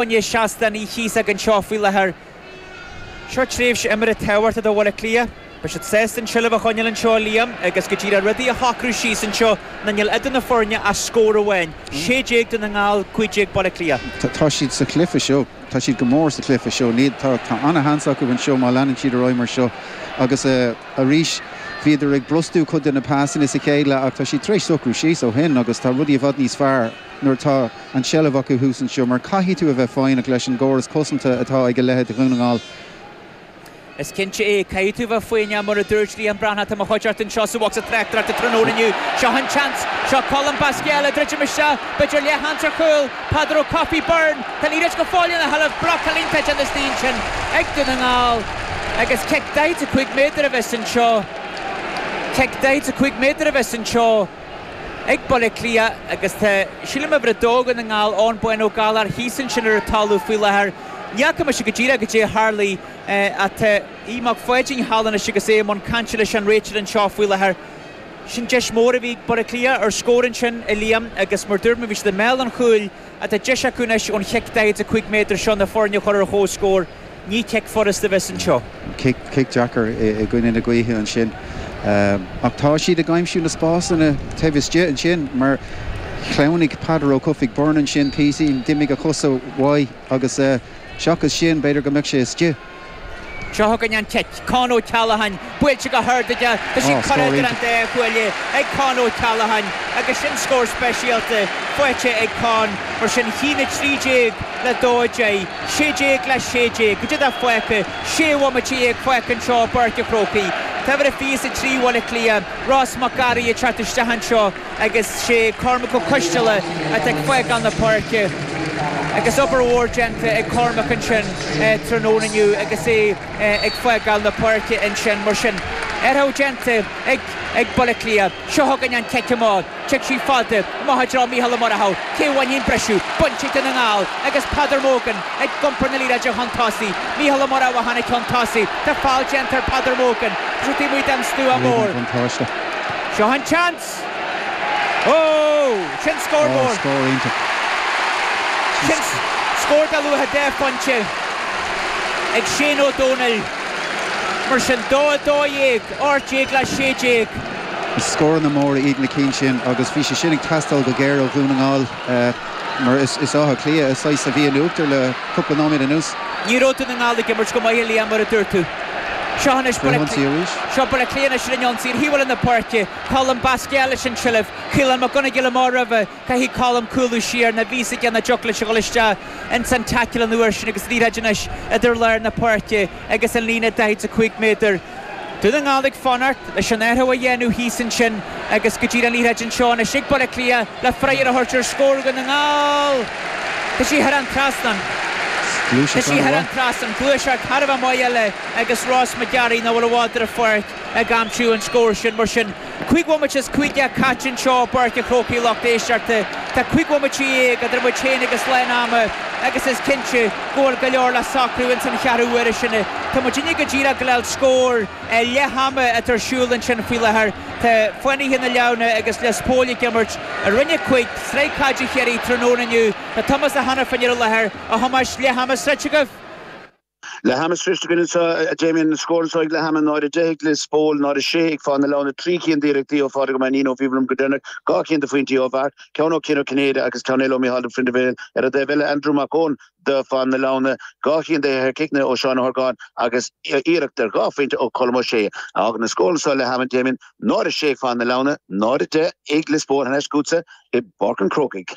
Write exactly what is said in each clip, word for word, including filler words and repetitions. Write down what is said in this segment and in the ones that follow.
Ní seasta ní chíos anseo faoi láthair. Seo tréimhse imeartha tábhachtach do Bhaile Átha Cliath. Beidh siad sásta an tseilbh a choinneáil anseo Liam agus go dtí rudaí a shocrú síos anseo na níl idir na foirne ach scór amháin. sé déag Dún na nGall cúig déag Baile Átha Cliath. Tá siad sa chluiche seo tá siad go mór sa chluiche seo ní tá an-sheans acu anseo má leanann siad ar aghaidh mar seo agus uh, arís bhíodar ag brostú cuid de na pasanna sa chéile ach tá siad tar éis socrú síos ó shin agus tá rudaí i bhfad níos fearr nuair tá an tseilbh acu thuas anseo mar caithfidh tú a bheith foighneach leis an gcóras cosanta atá ag a leithéid Dhún na nGall. Is cinnte é caithfidh tú bheith foighneach mar a dúirt Liam Breathnach tá mo chuid anseo sa bhocsa tráchtaireachta tráthnóna inniu seo an seans seo Colm Basquel ag druidim isteach b'fhéidir leathsheans ar chúl Peadar Ó Cofaigh Byrne Tá líid go fáil na helah blocálínta an stín sin ag Dún na nGall agus cic daichead a cúig méadar a bheas anseo cic daichead a cúig méadar a bheas anseo ag Baile Átha Cliath agus tá sílim uimhir a dó Dhún na nGall Eoin Bán Ó Gallchóir thíos ansin ar an talamh faoi láthair. Ní fhaca mise go díreach goidé a tharla atá Aodh Mac Pháidín thall anois agus é i mbun cainte leis an réiteoir anseo faoi láthair. Sin deis mór a bhí Baile Átha Cliath ar scór ansin a Liam agus mar dúirt mé bhí siad i mbéal an chúil atá deis acu anois ón chic daichead a cúig méadar seo na foirne a chur ar chomhscór. Ní cic furasta a bheas anseo. Cic deacair i gcoinne na gaoithe ansin. Ach tá siad ag aimsiú na spásanna taobh istigh ansin mar shleamhnaigh Peadar Ó Cofaigh Byrne ansin píosa d'imigh a chosa uaidh agus seachas sin b'fhéidir go mbeadh sé istigh. Seo chugainn an cic Con O'Callaghan buailte go hard aige Tá sí curtha idir an dá chuaille ag Con O'Callaghan agus sin scór speisialta faighte ag Con mar sin a haon a trí déag le dó deich sé déag le sé déag goidé atá fágtha sé bhomaite déag fágtha anseo i bPáirc an Chrócaigh. Tá uimhir a fiche a trí Bhaile Átha Cliath Ross Mac Garaí ag teacht isteach anseo agus sé Cormac Ó Coisteala atá ag fágáil na páirce. Agus obair mhór déanta ag Cormac ansin tráthnóna inniu agus é ag fágáil na páirce ansin mar sin. Athrú déanta ag ag Baile Átha Cliath, seo chugainn an cic amach, Tig sí fada, amach i dtreo Mícheál Ó Murchú, cé a bhainfidh an briseadh, bainte ag Dún na nGall agus Peadar Mogan ag iompar na liathróide chun tosaigh, Mícheál Ó Murchú a tháinig chun tosaigh, tá feall déanta ar Peadar Mogan, tá sé taobh amuigh den stua mór. Seo an seans! Ó! Sin scór mór! Scór iontach. Sin scór de luach deich phointe ag Shane Ó Dónaill. Mar sin dó a dó dhéag, ocht déag le sé déag. Is scóranna móra iad na cinn sin agus bhí sé sin ag teastáil go géar ó Dhún na nGall mar is Áth Cliath is saghas a bhí in uachtar le cúpla nóiméad anuas. Ní raibh Dún na nGall ag imirt go maith a Liam mar a dúirt tú. Seo anois Seo Baile Átha Cliath anois ar an ionsaí ar thaobh eile na páirce, Colm Basquel leis an tseilbh, Caolán Mac Gonigle amach roimhe, caithfidh Colm cúlú siar ná bhí a fhios aige nach dtiocfadh leis a dhul isteach ins an tackle an uair sin agus liathróid anois idir lár na páirce agus an líne daichead a cúig méadar. Dún na nGall ag fanacht leis an athrú a dhéanamh thíos ansin agus go dtí an liathróid anseo anois ag Baile Átha Cliath le freagra a thabhairt ar scór Dhún na nGall. Tá sí thar an trasnán. Tá sí thar an trasnán. Gluaiseacht thar a bheith maith eile agus Ross McGarry nach bhfuil i bhfad ar an pháirc ag aimsiú an scór sin mar sin. Cúig bhomaite is cúig déag caite anseo i bPáirc an Chrócaigh lucht éisteachta. Tá cúig bhomaite dhéag idir muid féin agus lán ama agus is cinnte go bhfuil go leor le socrú ins an cheathrú uaire sin. Tá muidinne go díreach ag dul scór leath ama atá ar siúl ansin faoi láthair. Tá Fánaithe na Leamhna agus Lios Póil ag imirt i Roinn a Cúig, Sraith Caide Chiarraí tráthnóna inniu. Tá Tomás Ó hAiniféin ar an láthair, a Thomáis, leath ama sroichte agaibh? Leath ama sroichte againn anseo, a Damien, an scór anseo ag leath ama, náid a deich ag Lios Póil, náid a sé ag Fáth na Leamhna, trí cinn d'iarrachtaí ó Phádraig Ó Mainnín ó bhí liom go deireanach, dhá cinn de phointí ó Mharc, ceann ó Cian Ó Cinnéide agus ceann eile ó Mícheál de Prindibhéal. Ar an dtaobh eile, Andrew Mac Eoin do Fáth na Leamhna, dhá cinn de chiceanna ó Seán Ó hOrgáin agus iarracht ar dhá phointe ó Colm Ó Sé. A fhágann an scór anseo leath ama, Damien, náid a sé ag Fáth na Leamhna, náid a deich ag Lios Póil, thar n-ais chugatsa i bPáirc an Chrócaigh.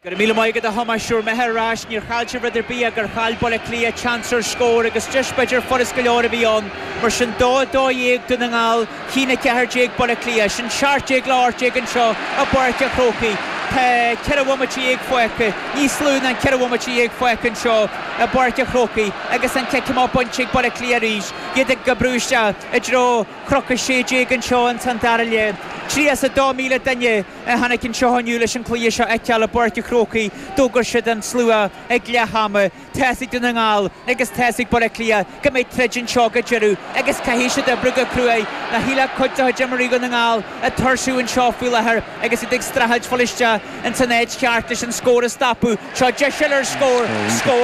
Go raibh míle maith agat a Thomáis Siúr mé ar ais níor chaill sibh rud ar bith gur chaill Baile Átha Cliath seans ar scór agus deis b'fhéidir furast go leor a bhí ann mar sin dó dó dhéag Dún na nGall a haon a ceathair déag Baile Átha Cliath sin seacht déag le hocht déag anseo i bPáirc an Chrócaigh. Tá ceithre bhomaite dhéag fágtha, níos lú ná ceithre bhomaite dhéag fágtha anseo i bPáirc an Chrócaigh agus an cic amach bainte ag Baile Átha Cliath arís, iad ag oibriú isteach i dtreo chnoc a sé déag anseo ins an dara leath. Tríocha is a dó míle duine a tháinig anseo inniu leis an cluiche seo a fheiceáil i bPáirc an Chrócaigh. D'fhógair siad an slua ag leath ama. Tá a fhios ag Dún na nGall agus tá a fhios ag Baile Átha Cliath go mbeidh troid anseo go deireadh agus caithfidh siad oibriú go cruaidh. Ná shílfeadh cuid de chuid imreoirí Dhún na nGall ag tuirsiú anseo faoi láthair agus iad ag streachailt fáil isteach ins an áit cheart leis an scór a stopadh. Seo deis eile ar scór, scór.